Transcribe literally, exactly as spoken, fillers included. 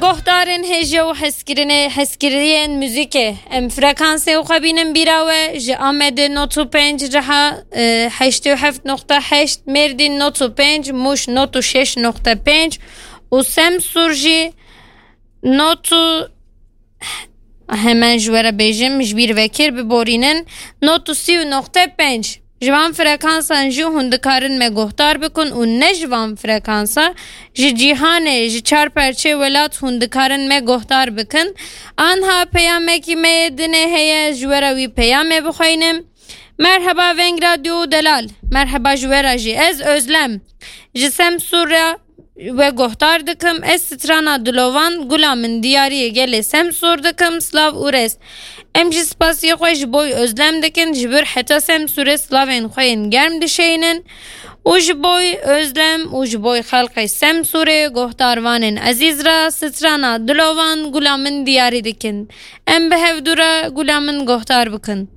Guhdarên hêja û hezkirinê, hezkiriyên muzîkê. Em frekansê xwe bînin bîra we, ji Amedê not û pênc, Riha, e, heştê û heft nokta heşt, Mêrdîn not û pênc, Mûş not û şeş nokta pênc û Semsûr jî not û, hemen ji we re bêjim, ji bîr vekir biborînin, not û sî û nokte pênc. Ji van frekansan jî hûn dikarin me guhdar bikin û ne ji van frekansa, ji cîhanê, ji çar perçê welat hûn dikarin me guhdar bikin. Anha peyamekî me yê dinê heye, ji we re wî peyamê bixweynim. Merheba Veng Radyo û Delal. Merheba ji we re jî. Ez Özlem. Ji Semsûr re we guhdar dikim. Ez strana Dilovan, Gula Min Diyariyê Gelê Semsûr dikim. Slav û rêz. Em jî spasiyê xwe ji boy Özlem dikin, ji vir heta Semsûrê slavên xwe yên germ dişeynin û ji boy Özlem û ji boy xelqê Semsûrê guhdarvanên ezîz re strana Dilovan, Gula Min Diyarî dikin. Em bi hevdû re Gula Min guhdar bikin.